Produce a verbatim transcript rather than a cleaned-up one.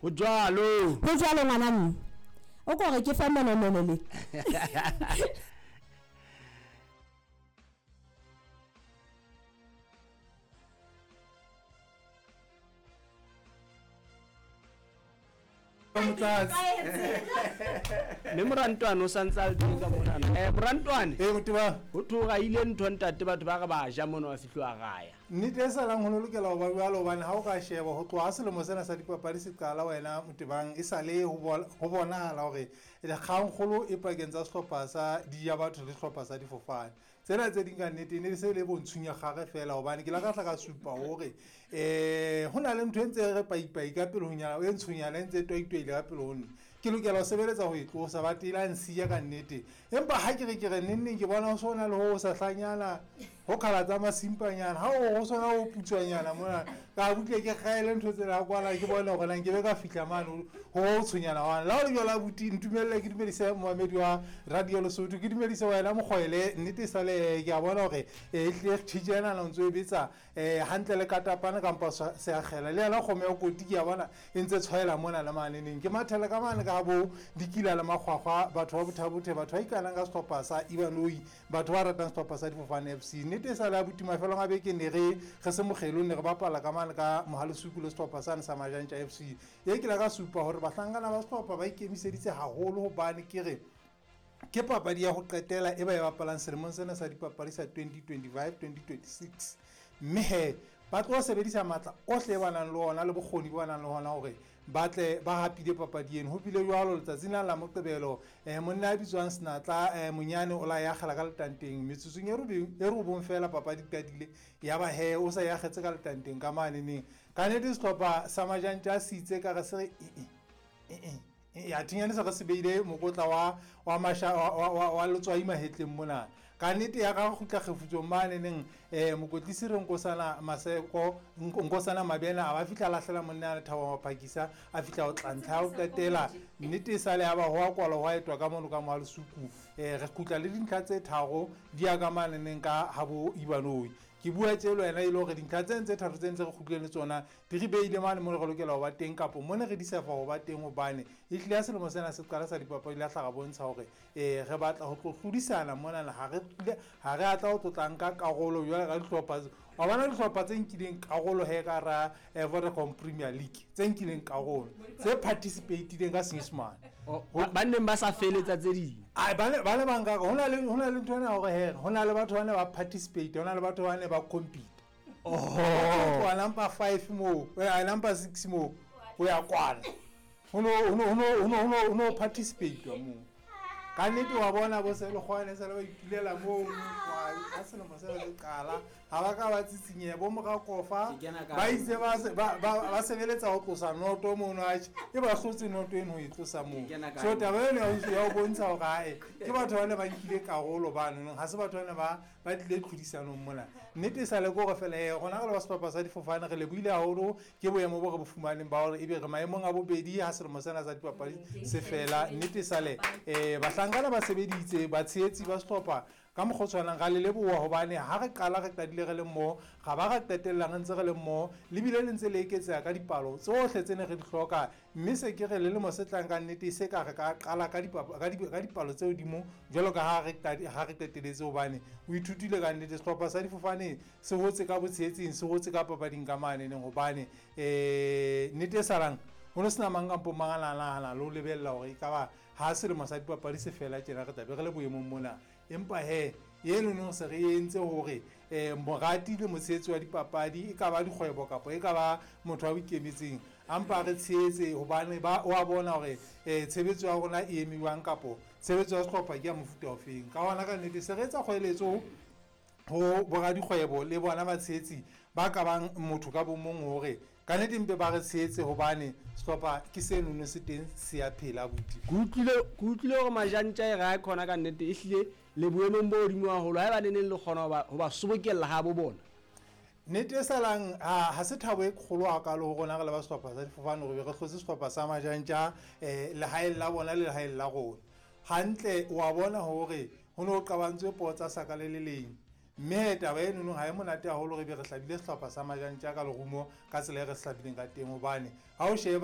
Ho jwalo. Ho jwalo ngwana mme. O ko re ke fa monomono le. Mme Morantwane o santse a le teng ka monana. Eh Morantwane. Eh Moteba. Ho thoga ile ntho ntate batho ba re ba ja mono wa fihlo raya. Nnete e salang ho lokela ho ba jwalo hobane ha o ka sheba ho tloha selemo sena sa dipapadi se qala wena Motebang e sale ho bonahala hore dikgangkgolo e pakeng tsa sehlopha sa di ya batho le sehlopha sa difofane. Tsena tse ding ka nnete ne se le bontshunya gare fela hobane ke la ka tla ka supa hore eh ho na le ntho e ntse re paipai ka pele ho nyana e ntshunyana e ntse toitoile ka pele ho nna. Ke lokela ho sebeletsa ho e tlosa ba tela nsiya ka nnete. Empa ha ke re ke re nenneng ke bona ho sona le ho sa hlanyana ho khala tsa masimpanyana ha o sona ho putswanyana mona ka butle ke kgaele ntho tsena kwala ke bona hore nang ke be ka fihla mane ho tshwenyana wa la o jwala buti ntumelle ke dumedise Mohamedi wa Radio Lesotho ke dumedise wena Mokgoele nnete sale ke a bona hore e tle thijena la ntso e betsa eh hantle le katapana kampa se akgela le yena kgome ya koti ke a bona e ntse tshwaela mona le mane neng ke mathela ka mane ka bo dikila le makgwakgwa batho ba bothabothe batho ba ikanang ka sehlopha sa Ibanoi batho ba ratang sehlopha sa Difofane F C nnete sa la butima fela nga beke ne re re se mokgelo ne re bapala ka mane ka Mohalesuku le sehlopha sa sa Majantja F C e ke la ka supa hore bahlankana ba sehlopha ba ikemiseditse haholo hobane ke re ke papadi ya ho qetela e ba e bapalang selemong sena sa dipapadi sa twenty twenty-five twenty twenty-six mme he ba tlo sebedisa matla ohle ba nang le ona le bokgoni ba nang le hona hore ba tle ba hapile papadi eno. Ho bile jwalo letsatsing la la Moqebelo eh monna a bitswang Senatla eh monyane o la ya kgela ka letanteng metsotsong e robong e robong fela papadi qadile ya ba he o sa ya kgetse ka letanteng ka mane neng ka nnete sehlopha sa Majantja se itse ka re se re e e ya thinyane se re se beile mokotla wa wa masha wa wa letswai mahetleng mona ka nnete ya ka kgutla kgefutsong mane neng eh mokotlisi re Nkosana Maseko Nkosana Mabena a ba fihla lahlela monna a Thabo Maphakisa a fihla o tlantlha o qetela nnete sale ya ba ho a kwala ho etwa ka mono ka Mohalesuku eh re kgutla le dintlha tse tharo di ya ka mane neng ka habo Ibanoi ke bua tjelo yena e le hore dintlha tse ntse tharo tse ntse re kgutlile le tsona di re beile mane mo re lokela ho ba teng kapo mo ne re di sefa ho ba teng hobane e hlile ya selemo sena se qala sa dipapadi la hlaga bontsha hore eh re batla ho tlo hlodisana mona ha re ha re atla ho tlotlang ka karolo jwale ka dihlopha wa bona dihlopha tse nkileng karolo he ka ra Vodacom Premier League tse nkileng karolo tse participatileng ka Senyesemane ba neng ba sa feletsa tse ding ai ba ba le bang ka hona le hona le ntho ena hore he hona le batho ba ne ba participate hona le batho ba ne ba compete. Oh, kwa number five mo, eh number six mo, o ya kwana. Hono hono hono hono hono participate mo. Ka nnete wa bona bo se le kgone se le ba ipulela mo kwa selemo se le qala ha ba ka ba tsitsinye bo Morakofa ba itse ba ba ba sebeletsa ho tlosa noto mono a e ba hlotse noto eno ho e tlosa mo. So taba eno ya ho bontsha hore ae ke batho ba ne ba nkile karolo ba nong ha se batho ba ne ba ba tlile tlhodisanong mona. Nnete sa le gore fela e rona re le ba sehlopha sa Difofane re lebohile haholo ke boemo bo re bo fumaneng ba hore ebe re maemong a bobedi ha selemo sena sa dipapadi se fela. Nnete sale eh bahlankana ba sebeditse ba tshehetsi ba sehlopha ka mokgwa o tshwanang ra le leboha hobane ha re qala re qadile re le mmoho ga ba ra qetellang ntse re le mmoho le bile le ntse le eketseha ka dipalo tsohle tse ne re di hloka mme se ke re le lemo se tlang ka nnete se ka re ka qala ka ka dipalo tse hodimo jwalo ka ha re ha re qeteletse hobane o ithutile ka nnete sehlopha sa Difofane se hotse ka botshehetsing se hotse ka papading ka mane neng hobane eh nnete e salang ho no sena mang kampo mang a nahana le ho lebella hore e ka ba ha selemo sa dipapadi se fela tjena re tlabe re le boemong mona. Empa he eno no se re entse hore eh morati le motshehetsi wa dipapadi e ka ba dikgwebo kapa e ka ba motho wa ikemetseng ampa re tshehetse hobane ba wa bona hore eh tshebetso ya rona e emiwang kapo tshebetso ya sehlopha ke ya mofuta ofeng. Ka hona ka nnete se re etsa kgoeletso ho boradikgwebo le bona batshehetsi ba ka bang motho ka bo mong hore ka nnete mpe ba re tshehetse hobane sehlopha ke seno no se teng se a phela buti. Ke utlwile ke utlwile hore Majantja e ra khona ka nnete e hlile le boemong bo hodimo haholo ha ba ne neng le kgona ho ba sobokella ha bo bona. Nnete e salang ha se thabo e kgolo hakalo ho rona re le ba sehlopha sa Difofane hore re hlotse sehlopha sa Majantja eh lehaeng la bona le lehaeng la rona. Hantle wa bona hore ho no qabantswe puo tsa saka le le leng. Mme taba eno no ha e monate haholo re be re hlabile sehlopha sa Majantja ka lerumo ka tsela e re hlabileng ka teng hobane ha o sheba